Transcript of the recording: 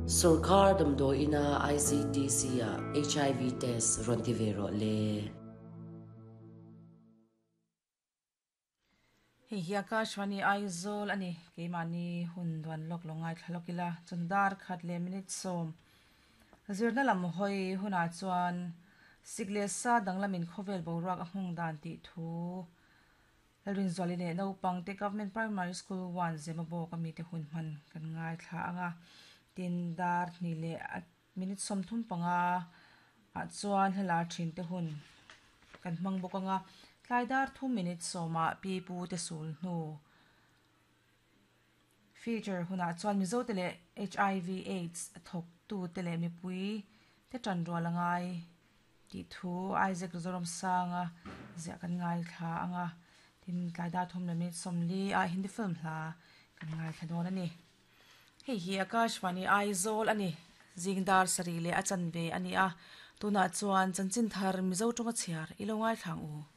Sorkar damdawiina ICTC-ah HIV test rawn ti ve rawh le. Hei hi Akashvani Aizawl a ni. Keimahni hun duan lawk lo ngaithla lawk ila, chun dar khat leh minute sawm zirna lam hawi hunah chuan sik leh sa danglamin khawvel boruak a nghawng dan tih thu Lalrinzuali leh naupangte Government Primary School 1 Zemabawk a mite hun hman kan ngaithla ang a, tin dar hnih leh a Minute 35 ah chuan hla thin te hun kan hmang bawk ang a, tlai dar thum minute sawmah pi pu te sul hnu feature hunah chuan Mizo te leh HIV AIDS thawk tu te leh mipui te tan rual a ngai tih thu Isaac Zoramsanga ziah kan ngaithla ang a, tin tlai dar thum leh minute 40 ah Hindi film hla kan ngaithla dawn a ni. Hei hi Akashvani Aizawl a ni. Zing dar sarih leh a chanve a ni a, tunah chuan chanchin thar Mizo tawnga chhiar i lo ngaithla ang u.